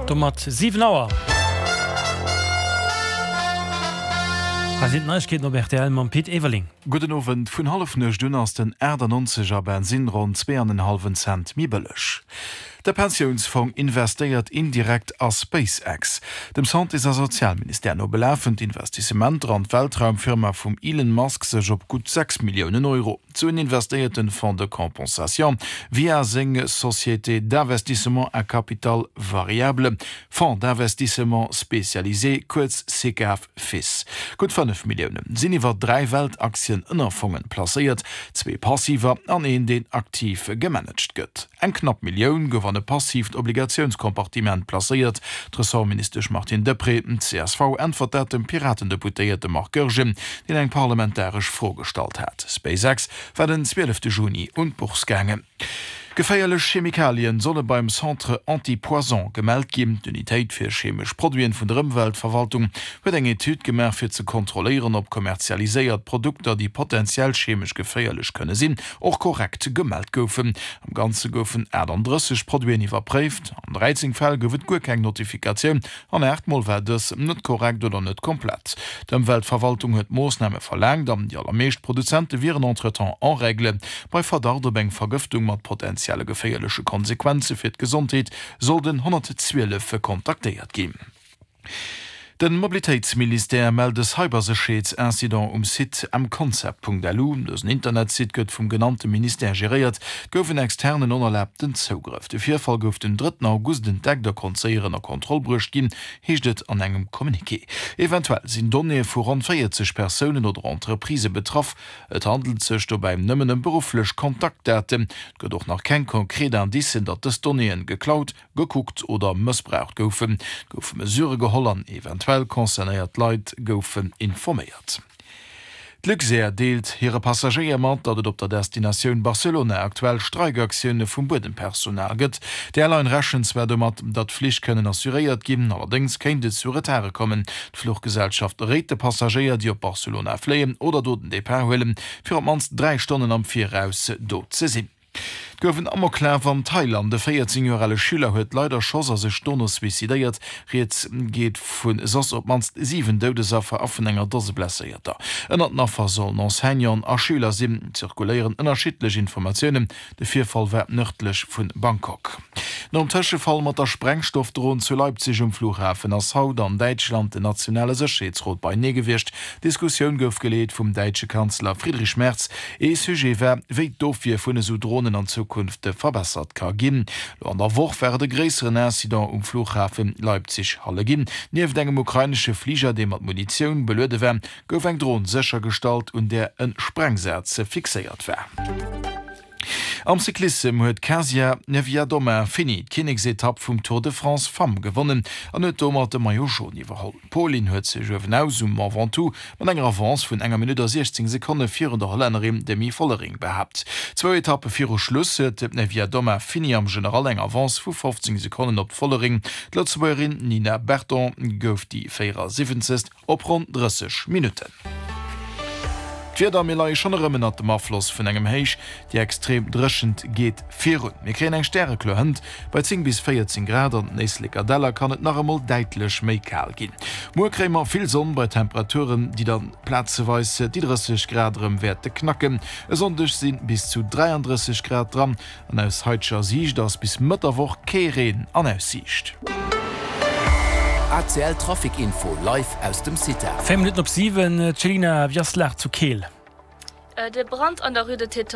Domat 7 Auer. Hei sinn d'Neiegkeeten op rtl mam Pit Everling. Gudden Owend. Vun Hallefnuecht un ass den 98 er Bensinn ronn zweeanenhallwen Cent méi bëlleg. De Pensiounsfong investéiert indirekt a SpaceX. Dem Santés a Sozialministère no belafen d'Investissementer an d'Weltraumfirma vum Elon Musk sech op gutt 6 Milliounen Euro. D'Suen investéiert den Fonds de compensation via seng Société d'investissement à capital variable, Fonds d'investissement spécialisé, kuerz Sicav Fis. Gutt 5 Millioune sinn iwwer 3 Weltaktien-Ënnerfongen placéiert, zwee passiver an een deen aktiv gemanagt gëtt. Eng knapp Millioun gouf an e passiivt Obligatiounscompartiment placéiert. D'Ressortministesch Martine Deprez, csv, äntwert dat dem Piraten-Deputéierte Marc Goergen, deen eng parlamentaresch Fro gestallt hat. SpaceX war den 12 Juni un d'Bourse gaangen. Geféierlech Chemikalien solle beim Centre Antipoison gemellt ginn. D'Unitéit fir chemesch Produiten vun der Ëmweltverwaltung huet eng Etüd gemaach, fir ze kontrolléieren, ob kommerzialiséiert Produkter, déi potenziell chemesch geféierlech kënne sinn, och korrekt gemellt goufen. Am Ganze goufen 38 Produiten iwwerpréift. An 13 Fäll gouf et guer keng Notifikatioun An 8 Mol war dës net korrekt oder net komplett. D'Ëmweltverwaltung huet Moossname verlaangt an déi allermeescht Produzente wieren entretemps en règle. Bei Verdacht op eng Vergëftung mat potenzielle geféierleche Konsequenze fir d'Gesondheet soll den 112 kontaktéiert ginn. De Mobilitéitsministère mellt e Cybersécherheetsincident um Site mconcept.lu. Dësen Internetsite gëtt vum genannte Ministère geréiert. Et gouf en externen onerlaabten Zougrëff. De Virfall gouf den drëtten August entdeckt a konnt séier ënner Kontroll bruecht ginn, heescht et an engem Communiqué. Eventuell sinn Donnéeë vu ronn 40 Persounen oder Entreprisë betraff. Et handelt sech dobäi nëmmen ëm berufflech Kontaktdaten. Et gëtt och nach keng konkret Indicen, datt dës Donnéeën geklaut, gekuckt oder mëssbraucht goufen. Et goufe Mesurë geholl an eventuell concernéiert Leit goufen informéiert. D'Luxair deelt hire Passagéier mat, datt et op der Destinatioun Barcelona aktuell Streikaktioune vum Buedempersonal gëtt. D'Airline rechent zwar domat, datt d'Flich kënnen assuréiert ginn, allerdéngs kéint et zu Retarde kommen. D'Fluchgesellschaft réit de Passagéier, déi op Barcelona fléien oder do den Depart huelen, fir op d'mannst 3 Stonnen am Viraus do ze sinn. Et gouf en Amoklaf an Thailand. E 14 Joer ale Schüler huet Leit erschoss a sech dono suicidéiert. Rieds geet vu soss op d'mannst 7 Doudesaffer a vun enger Dose Blesséierter. Ënnert den Affer sollen Enseignanten a Schüler sinn. Et zirkuléieren ënnerschiddlech Informatiounen. De Virfall war nërdlech vu Bangkok. Nom Tëschefall mat der Sprengstoffdron zu Leipzig um Flughafen ass haut an Däitschland den nationale Sécherheetsrot beienee gewiescht. D'Diskussioun gouf geleet vum däitsche Kanzler Friedrich Merz. Ee Sujet war, wéi d'Ofwier vun esou Dronen an Zukunft verbessert ka ginn. Lo an der Woch war et e gréisseren Incident um Flughafe Leipzig-Halle ginn. Nieft engem ukrainesche Fliger, dee mat Munitioun beluede war, gouf eng Dron séchergestallt, un där e Sprengsaz fixéiert war. Am Cyclissem huet d'Kasia Niewiadoma Fini d'Kinneksetapp vum Tour de France Femmes gewonnen an huet domat de Maillot Jaune iwwerholl. D'Polin huet sech uewenaus um Mont Ventoux mat enger Avance vun enger Minutt a 16 Sekonne virun der Hollännerin Demi Vollering behaapt. Zwou Etappe viru Schluss huet d'Niewiadoma Fini am General eng Avance vu 15 Sekonnen op d'Vollering. D'Lëtzebuergerin Nina Berton gouf déi 74. Op ronn 30 Minutten. D'Wieder, Mir leie schonn erëm ënnert dem Afloss vun engem Héich, déi extrem Dréchent geet virun. Mir kréien eng stärekloer Hënt bei 10 bis 14 Grad, an den Éisleker Däller kann et nach emol däitlech méi kal ginn. Muer kréie mer vill Sonn bei Temperaturen, déi dann plazeweis déi 30 Grad erëm wäerte knacken. E Sonndeg si bis zu 33 Grad dran. An aus haiteger Siicht ass bis Mëtt der Woch kee Reen an Aussiicht. ACL Trafic Info live aus dem CITA. 4 Minutten op 7, Céline, wéi ass d'Lag zu Keel? De Brand an der Rue de Tétange.